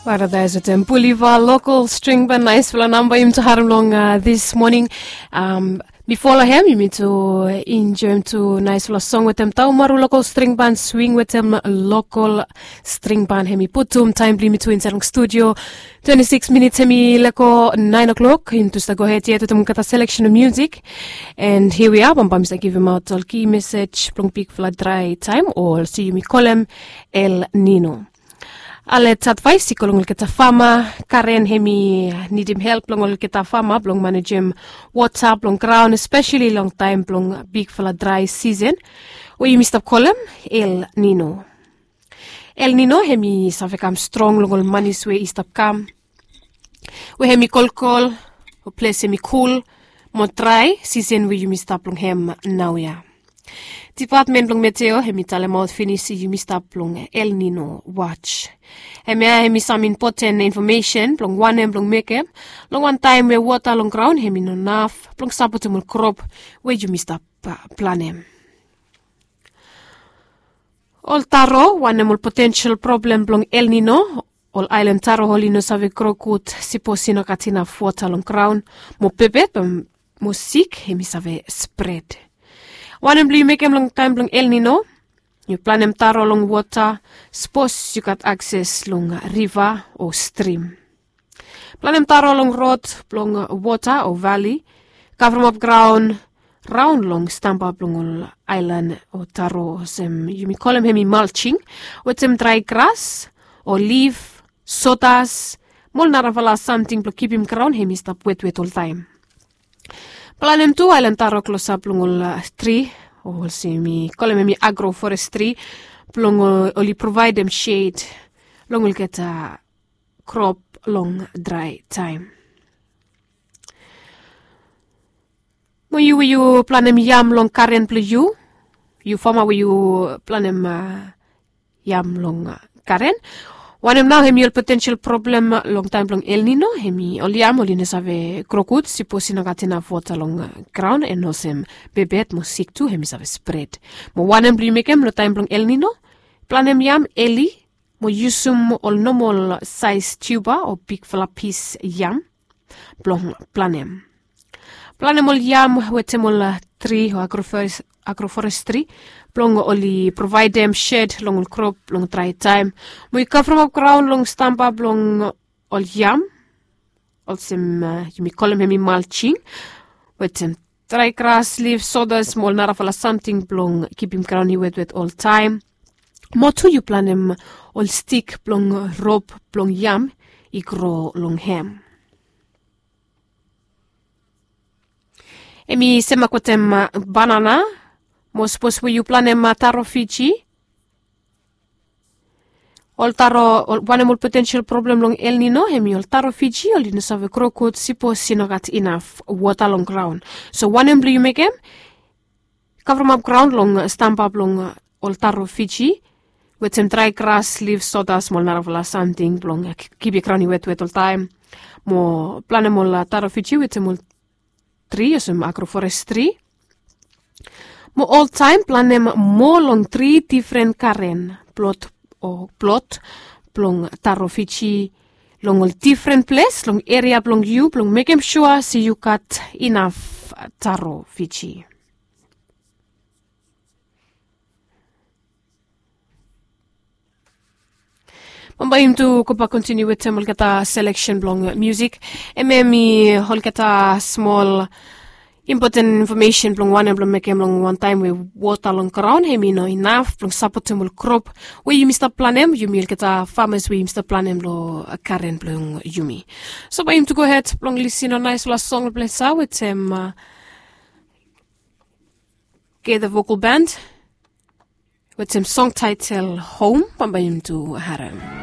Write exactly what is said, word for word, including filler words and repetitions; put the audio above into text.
Paradais wetem Puliva lokal string ban, naisfala namba yumi tu harim long this morning. Bifo long hem yumi tu enjoim tu naisfala song wetem Taumaru lokal string ban, swing wetem lokal string ban. Hem i putum taim blong yumi tu insaed long studio. Twenti sikis minits hem i lego naen o'klok. Yumi tu stap gohed yet wetem olgeta seleksen o musik. And here we are, bambae mi stap givimaot ol ki mesej blong bigfala drae taim o olsem yumi kolem El Nino. Alet advaes i go long olgeta fama. Karen hem i nidim help blong olgeta fama blong manejem wota blong graon, espeseli long taim blong bigfala drae sisen we yumi stap kolem El Nino. El Nino hem i save kam strong long ol manis we i stap kam, we hem i kolkol, o ples hem i kul mo drae sisen we yumi stap long hem naoia. Dipatmen blong meteo hem i talemaot finis yumi stap long El Nino watch. Hemia hem i sam impoten infomesen blong wanem blong mekem long wantaem we wota long graon hem i no naf blong sapotem ol krop we yumi stap planem. Ol taro, wanem ol potensel problem blong El Nino? Ol aelan taro oli no save gro gud sipos i no gat inaf wota long graon, mo bebet mo sik hem i save spred. Wanem blong yu mekem long taem blong El Nino? Yu planem taro long wota sipos yu gat akses long riva o strim. Planem taro long rod blong wota o vali. Kavremap graon raon long stamba blong ol aelan o taro olsem yumi kolem hem i malsing, wetem drae gras o lif, sodas mo ol narafala samting blong kipim graon hem i stap wetwet oltaem. Planem tu aelan taro klosap long ol tri, o olsem yumi kolem hem i agroforestri, blong oli provaedem sed long olgeta krop long drae taem. Mo yu we yu planem yam long karen blong yu, yu fama we yu planem yam long karen, wanem nao hem i ol potensel problem long taem blong El Nino? Hem i ol yam oli no save gro gud sipos i no gat inaf wota long graon, en olsem bebet mo sik tu hem i save spred. Mo wanem blong yu mekem long taem blong El Nino? Planem yam eli mo yusum ol nomol saes tiuba o bigfala pis yam blong planem. Planem ol yam wetem ol tri o agroforestri blong oli provaedem sed long ol krop long drae taem. Mo yu kavremap graon long stamba blong ol yam olsem yumi kolem hem i malsing, wetem drae gras, lif, sodas mo ol narafala samting blong kipim graon i wetwet oltaem. Mo tu yu planem ol stik blong rop blong yam i gro long hem. Hem i semak wetem banana. Mo sipos we yu planem taro Fiji, ol taro, wanem ol potensel problem long El Nino? Hem i ol taro Fiji oli no save gro gud sipos i no gat inaf wota long graon. So wanem blong yu mekem? Kavremap graon long stamba blong ol taro Fiji wetem drae gras, lif, sodas mo ol narafala samting blong kipim graon i wetwet oltaem. Mo planem ol taro Fiji wetem ol tri olsem agroforestri. Mo oltaem planem moa long tri difren karen plot o plot blong taro Fiji long ol difren ples long eria blong yu blong mekem sua se yu gat inaf taro Fiji. Bambae yumi tu gobak kontiniu wetem olgeta seleksen blong musik. Hem hem i olgeta smol impoten infomesen blong wanem blong mekem long wantaem we wota long graon hem i no inaf blong sapotem ol krop we yumi stap planem, yumi olgeta famas we yumi stap planem long karen blong yumi. So bae yumi tu gohed blong lisin long naesfala song blong ples ya wetem Gather Vocal Band wetem song taetel Home. Bambae yumi tu harem.